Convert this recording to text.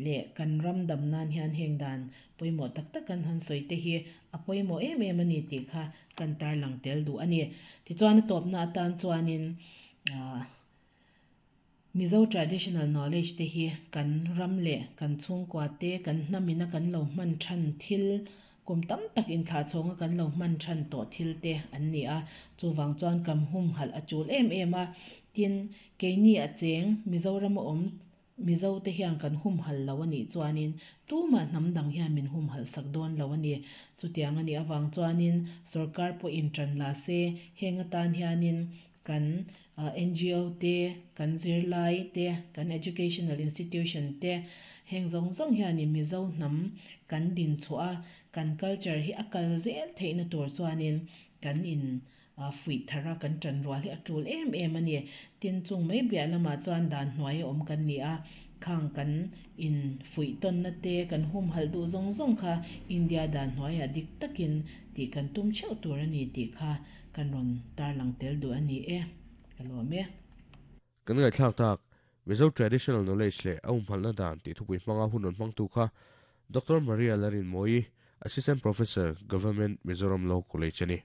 leh kan ram dam nan hian heng dan pawimawh tak tak kan han sawi te hi a pawimawh em em a ni tih kha kan tarlang tel duh a ni. Tichuan a tawpna atan chuanin ah Mizo traditional knowledge te hi kan ram leh kan chhungkua te, kan hnamina kan lo hman than thil, kum tam tak inthlahchhawnga kan lo hman than tawh thil te an ni a. Chuvang chuan kam humhalh a tul em em a. Tin, keini a cheng Mizorama awm Mizo te hian kan humhalh lo a nih chuanin tumah hnam dang hian min humhalh sak dawn lo a ni. Chutiang a nih avang chuanin sorkar pawhin tan la se, heng atan hianin kan NGO te, kan zirlai te, kan educational institution te, heng zawng zawng hianin Mizo hnam kan din chhuah a, kan culture hi a kal zel theihna tur chuanin kan in fuih thar a, kan tan rual hi a tul em em a ni. Tin, chung mai biah lamah chuan dan hnuai a awm kan ni a, khang kan in fuih tawnna te, kan humhalh duh zawng zawng kha India dan hnuaiah dik takin tih kan tum theuh tur a ni tih kha Kan rawn tarlang tel duh a ni e, ka lawm e. Kan ngaihthlak tak, Mizo Traditional Knowledge leh a humhalhna dan tih thupui hmanga hun rawn hmangtu kha Doctor Maria Larinmawii, Assistant Professor, Government Mizoram Law College a ni.